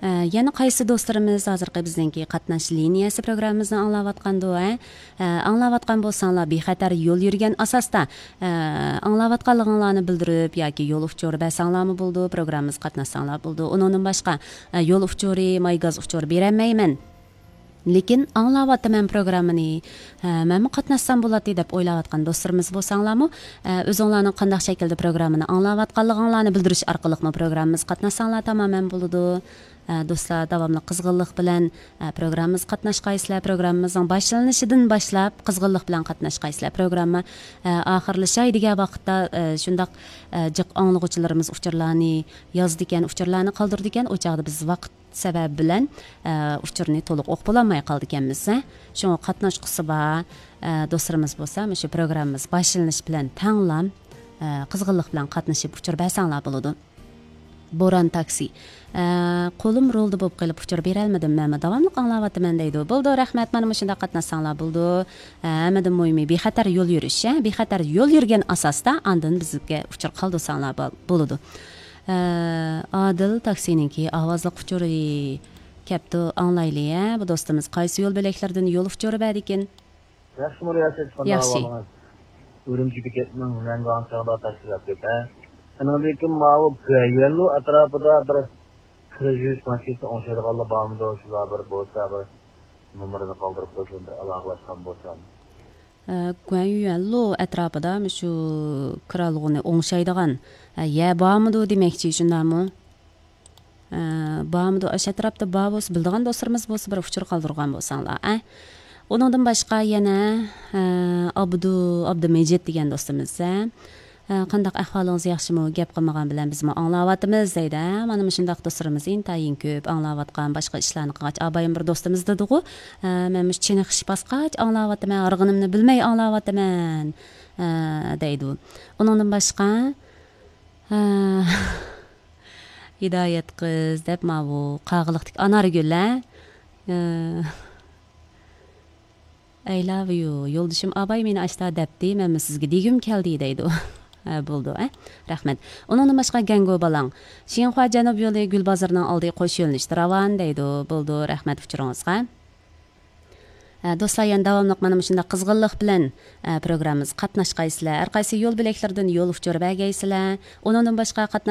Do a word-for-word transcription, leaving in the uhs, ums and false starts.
ئە، يەنە قايسى دوستلىرىمىز ھازىرقى بىزنىڭكى قاتناش لىنىيەسى پروگراممىمىزنى ئاڭلاۋاتقاندۇ، ھە؟ ئە، ئاڭلاۋاتقان بولساڭلار، بىخەتەر يول يۈرگەن ئاساستا، ئە، ئاڭلاۋاتقانلىقىڭلارنى بىلدۈرۈپ ياكى يول ئۇچۇرى بەرسەڭلارمۇ بولىدۇ، پروگراممىمىزغا قاتناشساڭلار بولىدۇ. ئۇنىڭدىن باشقا، ئە، يول ئۇچۇرى، ماي گاز ئۇچۇرى بېرەلمەيمەن، لېكىن ئاڭلاۋاتىمەن پروگراممىنى، ھە، مەنمۇ قاتناشسام بولاتتى دەپ ئويلاۋاتقان دوستلىرىمىز بولساڭلارمۇ، ئە، ئۆزۈڭلارنىڭ قانداق شەكىلدە پروگراممىنى ئاڭلاۋاتقانلىقىڭلارنى بىلدۈرۈش ئارقىلىقمۇ پروگراممىمىزغا قاتناشساڭلار تامامەن بولىدۇ. ئە، دوستلار، داۋاملىق قىزغىنلىق بىلەن، ئە، پروگراممىمىزغا قاتناشقايسىلەر. پروگراممىمىزنىڭ باشلىنىشىدىن باشلاپ قىزغىنلىق بىلەن قاتناشقايسىلەر. پروگرامما، ئە، ئاخىرلىشاي دېگەن ۋاقىتتا، ئە، شۇنداق، ئە، جىق ئاڭلىغۇچىلىرىمىز ئۇچۇرلارنى يازىدىكەن، ئۇچۇرلارنى قالدۇرىدىكەن. ئۇ چاغدا بىز ۋاقىت سەۋەبى بىلەن، ئە، ئۇچۇرنى تولۇق ئوقۇپ بولالماي قالىدىكەنمىز، ھە. شۇڭا قاتناشقۇسى بار، ئە، دوستلىرىمىز بولسا، مۇشۇ پروگراممىمىز باشلىنىشى بىلەن تەڭلا، ئە، قىزغىنلىق بىلەن قاتنىشىپ ئۇچۇر بەرسەڭلار بولىدۇ. بوران تاكسى. ئە، قولۇم رولدا بولۇپ قېلىپ ئۇچۇر بېرەلمىدىم، مەنمۇ داۋاملىق ئاڭلاۋاتىمەن دەيدۇ. بولىدۇ، رەھمەت، مانا مۇشۇنداق قاتناشساڭلار بولىدۇ. ئە، ھەممىدىن مۇھىمى بىخەتەر يول يۈرۈش، ھە؟ بىخەتەر يول يۈرگەن ئاساستا ئاندىن بىزگە ئۇچۇر قالدۇرساڭلار بول-، بولىدۇ. ئە، ئادىل تاكسىنىڭكى ئاۋازلىق ئۇچۇرى كەپتۇ، ئاڭلايلى، ھە؟ بۇ دوستىمىز قايسى يول بۆلەكلىرىدىن يول ئۇچۇرى بەردىكىن؟ ياخشىمۇ رىياسەت، قانداق ياخشى. ئەھۋالىڭىز؟ ئۈرۈمچى بېكەتنىڭ مەڭگۈ ئاڭشاغدا تاشلاپ كەت، ھە؟ ئېنىڭدىن كېيىن ماۋۇ گۈەنيۈەنلۇ ئەتراپىدا بىر كىرا يۈرۈش ماشىنىسى ئوڭشايدىغانلار بارمىدۇ؟ شۇلار بىر بولسا، بىر نومۇرىنى قالدۇرۇپ قويسۇن، بىر ئالاقىلاشقان بولسام. ئە، گۈەنيۈەنلۇ ئەتراپىدا مۇشۇ كىرالغۇنى ئوڭشايدىغان، ئە، يە بارمىدۇ دېمەكچى، شۇنداقمۇ؟ ئە، بارمىدۇ؟ ئاشۇ ئەتراپتا بار بولسا، بىلىدىغان دوستلىرىمىز بولسا، بىر ئۇچۇر قالدۇرغان بولساڭلار، ئە. ئۇنىڭدىن باشقا يەنە، ئە، ئابدۇ، ئابدۇمىجىت دېگەن دوستىمىز، ئە، ئە، قانداق ئەھۋالىڭىز، ياخشىمۇ؟ گەپ قىلمىغان بىلەن بىزمۇ ئاڭلاۋاتىمىز دەيدۇ، ئە. مانا مۇشۇنداق دوستلىرىمىز ئىنتايىن كۆپ ئاڭلاۋاتقان، باشقا ئىشلارنى قىلغاچ، ئابايىم بىر دوستىمىز دېدىغۇ، ئە، مەن مۇشۇ چېنىقىش باسقاچ ئاڭلاۋاتىمەن، ھارغىنىمنى بىلمەي ئاڭلاۋاتىمەن، ئە، دەيدۇ. ئۇنىڭدىن باشقا، ئە، ھىدايەت قىز دەپ ماۋۇ قاغىلىقتىكى ئانارگۈل، ھە؟ ئە، I love you. يولدىشىم ئاباي مېنى ئاشتا دەپتى، مەنمۇ سىزگە دېگۈم كەلدى دەيدۇ. ھە، بولىدۇ، ھە؟ رەھمەت. ئۇنىڭدىن باشقا گەڭگو بالاڭ. شىنخۇا جەنۇب يولى گۈلبازىرىنىڭ ئالدى قوش يۆنىلىشتە راۋان دەيدۇ. بولىدۇ، رەھمەت ئۇچۇرىڭىزغا. ئە، دوستلار، يەنە داۋاملىق مانا مۇشۇنداق قىزغىنلىق بىلەن، ئە، پروگراممىمىزغا قاتناشقايسىلەر. ھەر قايسى يول بۆلەكلىرىدىن يول ئۇچۇرى بەرگەيسىلەر. ئۇنىڭدىن باشقا قاتناش